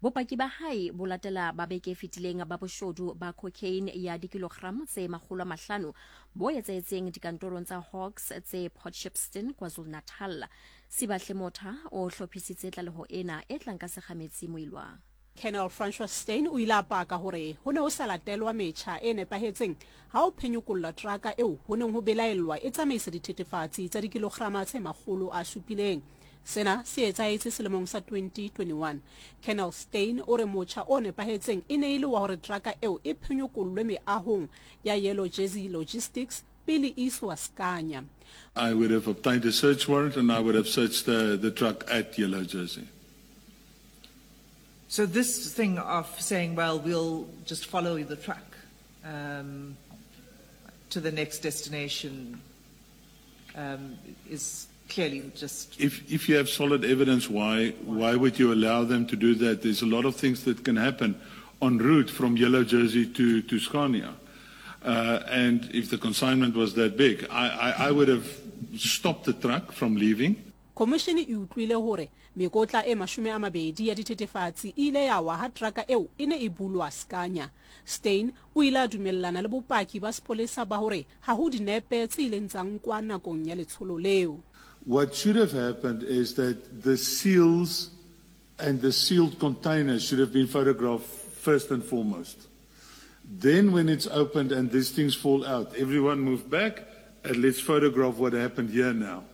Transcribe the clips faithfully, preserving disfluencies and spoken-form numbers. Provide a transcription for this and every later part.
Bopaki ba hae bo latela ba beke e fetileng ba boshodu ba cocaine ya dikilogram tse makgolo a mahlano bo etsahetseng dikantorong tsa Hawks tse Port Shepstone, KwaZulu-Natal. Sibahle Motha o hlophisitse tlaleho ena e tlang ka Sekgametsi Moilwa. Colonel Francois Steyn o ile a paka hore ho ne ho sa latelwa metjha e nepahetseng ha ho phenyekollwa teraka eo ho neng ho belaellwa e tsamaisa dithethefatsi tsa dikilograma tse makgolo a supileng. Sena se etsahetse selemong sa twenty twenty-one. Colonel Steyn o re motjha o nepahetseng e ne e le wa hore teraka eo e phenyekollwe meahong ya Yellow Jersey Logistics pele e iswa Scania. I would have obtained a search warrant and I would have searched the, the truck at Yellow Jersey. So this thing of saying, well, we'll just follow the truck, um, to the next destination, um, is clearly just... If, if you have solid evidence, why, why would you allow them to do that? There's a lot of things that can happen en route from Yellow Jersey to, to Scania. Uh, and if the consignment was that big, I, I, I would have stopped the truck from leaving. Commission e utlwile hore mekotla e mashome a mabedi ya dithethefatsi e ile ya wa ha teraka eo e ne e bulwa Scania. Steyn o ile a dumellana le bopaki ba sepolesa ba hore ha ho dinepe tse ileng tsa nkwa nakong ya letsholo leo. What should have happened is that the seals and the sealed containers should have been photographed first and foremost. Then when it's opened and these things fall out, everyone move back and let's photograph what happened here now.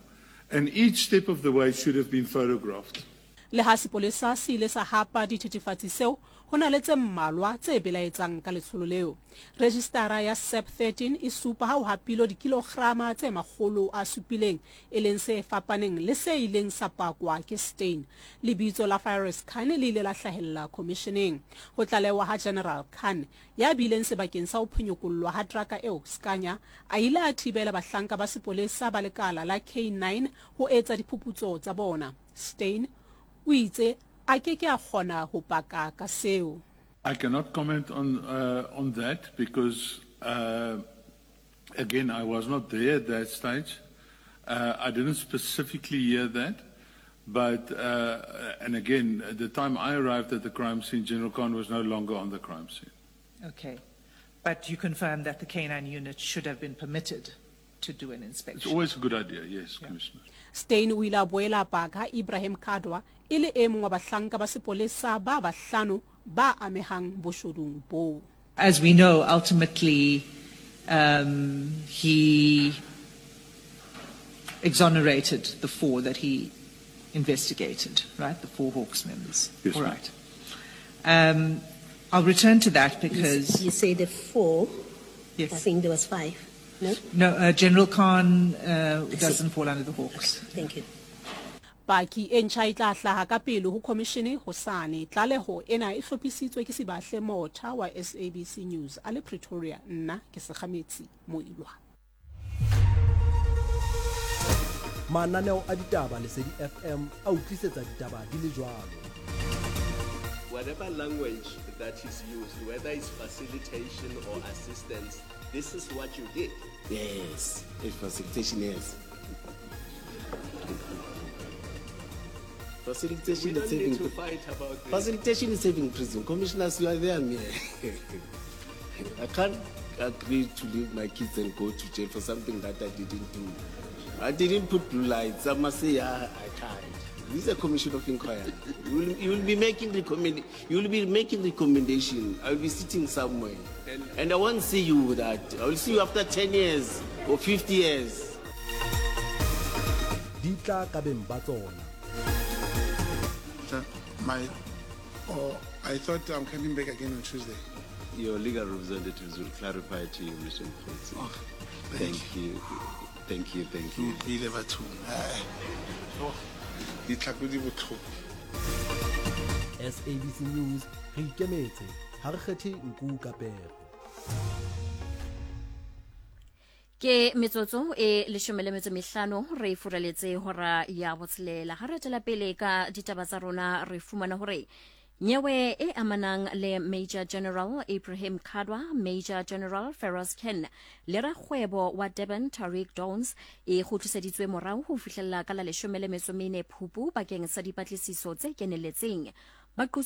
And each step of the way should have been photographed. Le ha sepolesa se ile sa hapa dithethefatsi seo, ho na le tse mmalwa tse belaetsang ka letsholo leo. Registara ya S A P thirteen e supa ha ho hapilwe dikilograma tse makgolo a supileng, e leng se fapaneng le se ileng sa pakwa ke Steyn. Lebitso la Firoz Khan le ile la hlahella commissioneng. Ho tlalewa ha General Khan ya bileng sebakeng sa ho phenyekollwa ha teraka eo Scania, a ile a thibela bahlanka ba sepolesa ba lekala la K nine ho etsa diphuputso tsa bona. Steyn o itse a ke ke a kgona ho paka ka seo. I cannot comment on, uh, on that because, uh, again, I was not there at that stage. Uh, I didn't specifically hear that. But, uh, and again, at the time I arrived at the crime scene, General Khan was no longer on the crime scene. Okay. But you confirm that the K nine unit should have been permitted to do an inspection. It's always a good idea, yes, Yeah. Commissioner. Steyn o ile a boela paka Ibrahim Kadwa e le e mong wa bahlanka ba sepolesa ba bahlano ba amehang boshodung bo. As we know, ultimately, um, he exonerated the four that he investigated, right? The four Hawks members. Yes, All ma'am. right. Um, I'll return to that because... You, you say the four. Yes. I think there was five. No? No, uh, General Khan, uh, I see. doesn't fall under the Hawks. Okay, thank you. Paki e ntjha e tla hlaha ka pele ho commission hosane. Tlaleho ena e hlophisitswe ke Sibahle Motha wa S A B C News a le Pretoria. Nna ke Sekgametsi Moilwa. Mananeo a ditaba Lesedi F M a o tlisetsa ditaba di le jwalo. Whatever language that is used, whether it's facilitation or assistance, this is what you did. Yes, it's facilitation, yes. Facilitation We is don't need saving to fight about this. Facilitation is saving prison. Commissioners, you are there, me. I can't agree to leave my kids and go to jail for something that I didn't do. I didn't put blue lights. I must say, I, I can't. This is a commission of inquiry. You will, you will be making recommend, you will be making recommendation. I will be sitting somewhere, and, and I won't see you that. I will see you after ten years or fifty years. Di tla ka beng ba tsona. My, oh, I thought I'm coming back again on Tuesday. Your legal representatives will clarify to you, Mister Mokgweetsi. Oh, thank, thank you. Thank you, thank you. Ke utlwile bathong. Oh, ditlhako di botlhoko. S A B C News, re ikemetse, ha re kgethe nku ka pere. Ke metsotso e leshome le metso mehlano re furaletse hora ya botshelela. Ha re tswela pele ka ditaba tsa rona re fumana hore nyewe e amanang le Major General Ibrahim Kadwa, Major General Feroz Khan le rakgwebo wa Durban Tariq Downs e kgutliseditswe morao ho fihlella ka la leshome le metso mene Phupu bakeng sa dipatlisiso tse keneletseng. Baqosi